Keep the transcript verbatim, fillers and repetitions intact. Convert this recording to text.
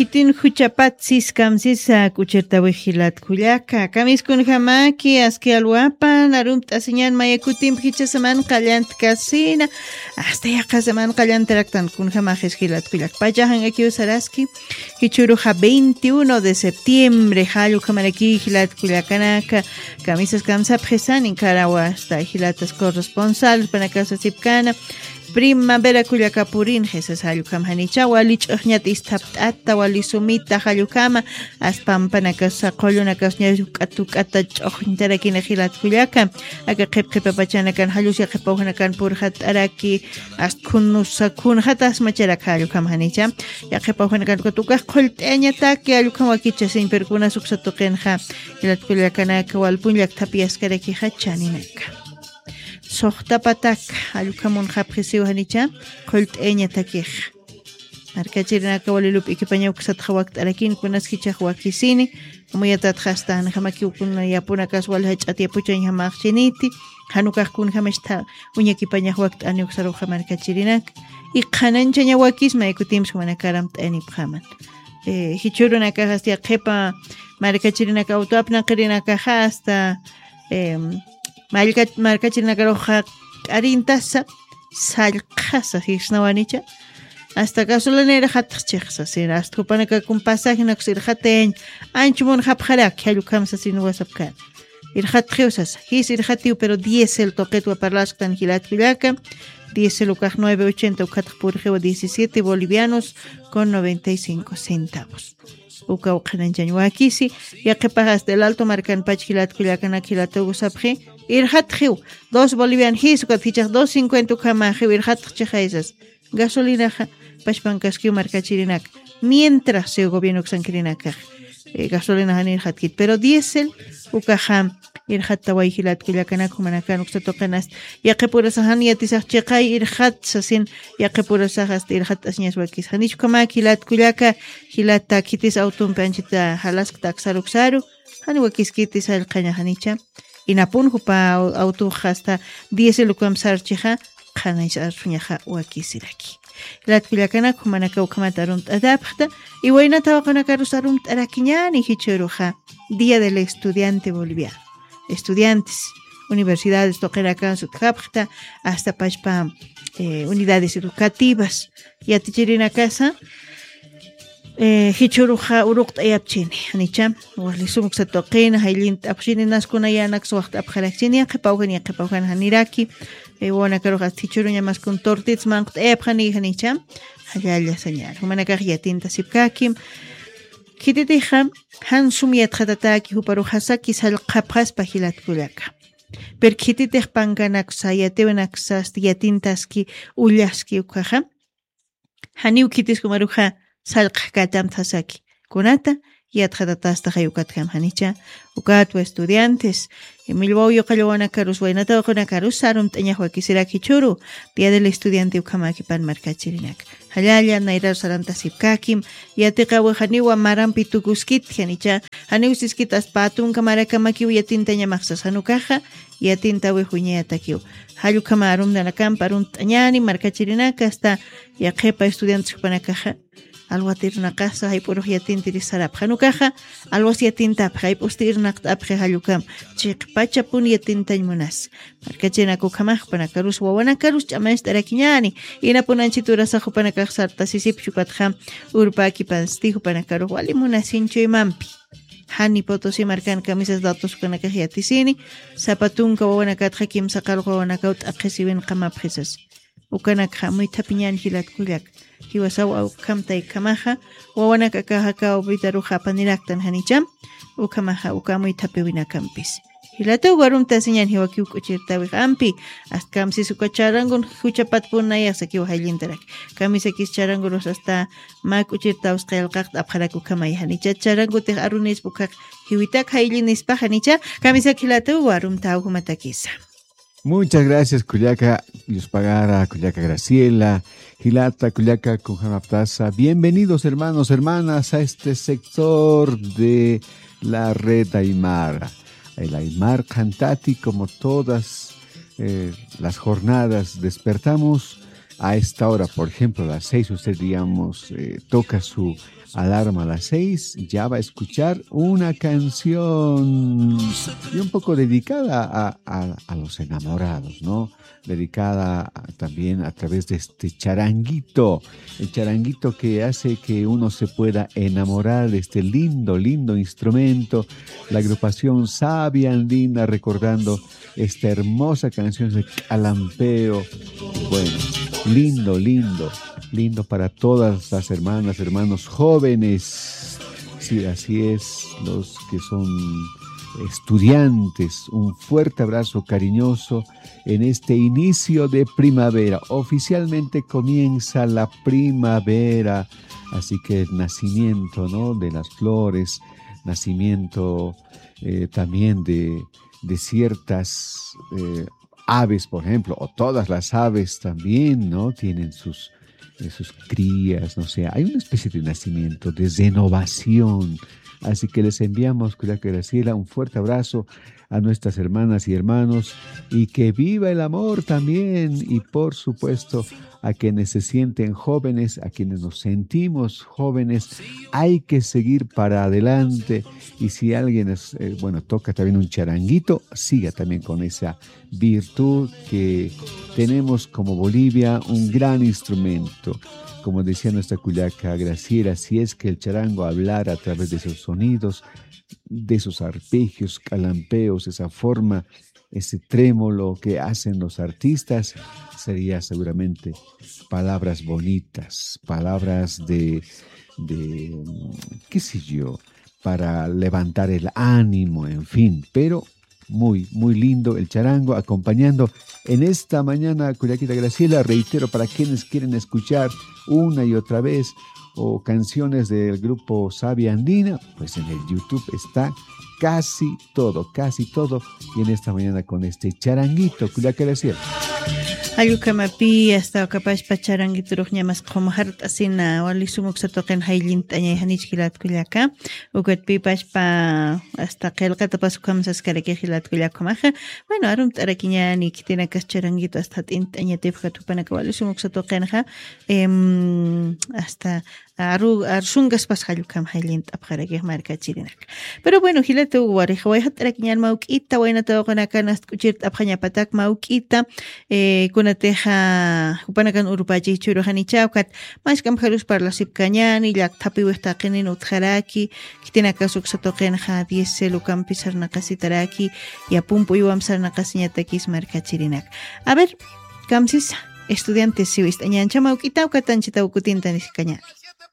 Itin juchapat siskamsisa kuchirtawi jilat kullaka. Kamiskunjamaki aski alwapan arumt'asiñan maya kutimpi jichasaman qallantkasina. Hasta yaqasaman qallantaraktan kunjamaxis jilat kullaka. Pachajan akiw saraski. Jichuruxa veintiuno de septiembre, jallukhamaraki jilat kullakanaka. Kamisas kamsapxisanin karawa hasta jilatas corresponsal panakasasipkana. Primavera kullaka purinxa sas jallukhamanicha wali ch'uxñat isthapt'ata wali sumita jallukhama. Aspampanakasa qullunakasña k'atuk'ata ch'uxñtarakina jilat kullaka. Aka qhipqhipapachanakan jallus yaqhipawjanakan purxat'araki. Askhunusakhunaxatasmacharak jallukhamanicha. Yaqhipawjanakan katukax qullt'añataki jallukhawakichasiñ pero kunas uksa tuqinxa. Jilat kullakanaka walpun llakthapi askarakixa chaninaka. Suxtapatak allukhamun japxisiw janicha qullt'ayañatakix. Markachirinaka wali lup'ikipañaw ksatxa wakt'arakin kunas jichax wakisini. Amuyatatxa asta janjamakiw kuna yapunakas wali jach'at yapuchañjamaxchiniti. Janukax kunjamistha uñakipañax wakt'ani uksaruxa markachirinaka. Iqhananchaña wakisma ikutimsi jumanakaram t'ayanipxaman. Jichhurunakaxa asta yaqhipa markachirinaka awtuapnaqirinakaxa asta markachirinakaruxa k'arintasa sallqhasa jisnawanicha. Asta gasolinera jatxchixsa sina asta jupanaka kun pasajinakus irxatayañ. Anchumuna japxaraki jallukhamsa sina wasapkana. Irxatxiw sasa jis irxatiw pero diésel tuqitwa parlasktan jilat kullaka. Diésel ukax nueve ochenta ukhatx purxiwa diecisiete bolivianos con noventa y cinco centavos. Ukaw qhananchañ wakisi. Yaqhipax asta el alto markanpach jilat kullakanak jilatugu sapxi. Irxatxiw dos bolivian jis ukat jichax dos cincuenta ukhamaxiw irxatxchixaysas. Gasolinaxa pachpankaskiw markachirinaka. Mientras siw gobierno uksankirinakax gasolinaxa nirxatkit pero diésel ukaxa. Irxattaway jilat kullakanak jumanakan uksa tuqinasta. Yaqhipurasaxan yatisax chiqay irxat sasin. Yaqhipurasax asta irxatt'asiñas wakis janichukhamak jilat kullaka. Jilata khitis awtumpi anchita jalaskta aksaruksaru. Jani wakiskitis jallqhaña janicha. Inapun jupa awtuxa asta diésel ukamsarchixa. Qhanaysa arsuñaxa wakisiraki. Jilat kullakanak jumanaka ukhamata arumt'atapxta. Iwaynata waqanakarus arumt'arakiñani jichhuruxa. Día del estudiante boliviano. Estudiantes universidades tuqinakan sutjapxta asta pachpa unidades educativas. Yatichirinakasa jichhuruxa uruqt'ayapchini janicha. Walisumuksa tuqina jayllint'apxchini naskunayanaksa waxt'apxarakchini yaqhipawjan yaqhipawjan janiraki. Wawanakarux asta jichhuruñamaskun tortits manqt'ayapxani janicha. Jallalla sañar jumanakax yatintasipkakim. Khititixa jan sum yatxatataki juparuxasaki sallqhapxaspa jilat kullaka. Pero khititix pankanaksa yatiwinaksasta yatintaski ullaski ukhaxa. Janiw khitis jumaruxa sallqhkatamtxasaki. Kunata yatxatatastaxay ukatjam janicha. Ukatwa estudiantes millwaw yuqallawanakarus waynata waqanakarus sarumt'añax wakisirak jichhuru. Día del estudiante ukhamakipan markachirinaka. Jallalla nayrar sarantasipkakim. Yatiqawi janiwa marampi tukuskit janicha. Janiw siskit aspa tunka marakamakiw yatintañamaxsas janukaxa. Yatintawi juñayatakiw. Jallukhama arumtanakampa arumt'añani markachirinaka asta yaqhipa estudiantes jupanakaxa. Alwat irnaqasa jayp'urux yatintiris sarapxa janukaxa. Alwas yatintapxa jayp'usti irnaqt'apxi jallukam. Chiqpachapun yatintañ munasa. Markachirinaka ukhamax jupanakarus wawanakarus ch'amañcht'arakiñani. Inapun anchit urasax jupanakax sartasisipchi ukatxa. Urpäkipansti jupanakarux wali munasinchuymampi. Jani potosi markan kamisas datos ukanakax yatisini. Sapa tunka wawanakatxa kimsa qalq wawanakaw t'aqhisiwin qamapxisas. Ukanakxa amuythapiñan jilat kullak. Jiwasaw awkhamtaykhamaxa wawanakakaxaka awpitaruxa apaniraktan janicham. Ukhamaxa uka amuythapiwinakampis. Jilatuw warumtasiñan jiwakiw k'uchirtawix ampi. Astkamsis uka charangun juchapatpunayas akiw jayllintarak. Kamisakis charangurus asta mä k'uchirtawsqa yalqaqt'apxarak ukhamay janicha charangutix arunispa ukhaq. Jiwitak jayllinispa janicha. Kamisak jilatuw warumtaw jumatakisa. Muchas gracias kullaka yuspagara kullaka Graciela. Jilata kullaka kunjamaptasa bienvenidos hermanos hermanas a este sector de la red aymara. El aymar cantati como todas las jornadas despertamos a esta hora, por ejemplo, a las seis, usted, digamos, eh, toca su alarma a las seis, ya va a escuchar una canción y un poco dedicada a, a, a los enamorados, ¿no? Dedicada a, también a través de este charanguito, el charanguito que hace que uno se pueda enamorar de este lindo, lindo instrumento. La agrupación Sabia Andina recordando esta hermosa canción de Calampeo. Bueno, lindo, lindo, lindo para todas las hermanas, hermanos jóvenes. Sí, así es, los que son estudiantes, un fuerte abrazo cariñoso en este inicio de primavera. Oficialmente comienza la primavera, así que el nacimiento, ¿no? De las flores, nacimiento, eh, también de, de ciertas, eh, aves, por ejemplo, o todas las aves también, ¿no? Tienen sus, eh, sus crías, no sé, hay una especie de nacimiento, de renovación. Así que les enviamos, Cuyaca Graciela, un fuerte abrazo a nuestras hermanas y hermanos, y que viva el amor también, y por supuesto a quienes se sienten jóvenes, a quienes nos sentimos jóvenes, hay que seguir para adelante. Y si alguien es, eh, bueno, toca también un charanguito, siga también con esa virtud que tenemos como Bolivia, un gran instrumento. Como decía nuestra cuyaca Graciela, si es que el charango hablara a través de sus sonidos, de sus arpegios, calampeos, esa forma, ese trémolo que hacen los artistas, sería seguramente palabras bonitas, palabras de, de, mm, qué sé yo, para levantar el ánimo, en fin, pero muy, muy lindo el charango acompañando en esta mañana, Cuyaquita Graciela, reitero, para quienes quieren escuchar una y otra vez o canciones del grupo Sabia Andina, pues en el YouTube está casi todo, casi todo, y en esta mañana con este charanguito, Cuyaca Graciela. Jallukamapi, hasta ukapashpa charanguiturux ñamas qhumjart'asina, wali sum uksa tuqin jayllint'añay, janichki jilat kullaka. Ukatpipashpa, hasta qillqatapas ukham saskarakix jilat kullaka ukhamaxa. Bueno, arumt'arakiñäni, khitinakas charanguito hasta jat'int'añatipxat jupanaka wali sum uksa tuqinxa, em, hasta aru-, arsungaspas jallukam jayllint'apxarakix markachirinaka. Pero bueno, jilata Hugo Barrijo, wayjat'arakiñän mawk'ita, wayna tawaqunaka nast'k'uchirt'apxañapatak mawk'ita, eh, kunatixa jupanakan urupachix churux janichäw, ukat mask'ampxarus parlasipkañäni, llakthapiwix taqinin utjaraki, khitinakas uksa tuqinxa diez cel ukampi sarnaqasitaraki, yapump'uywamp sarnaqasiñatakis markachirinaka. A ver, kamsisa, estudiantes siwist'añäncha mawk'ita, ukat anchhitaw kutintanisiskañäni.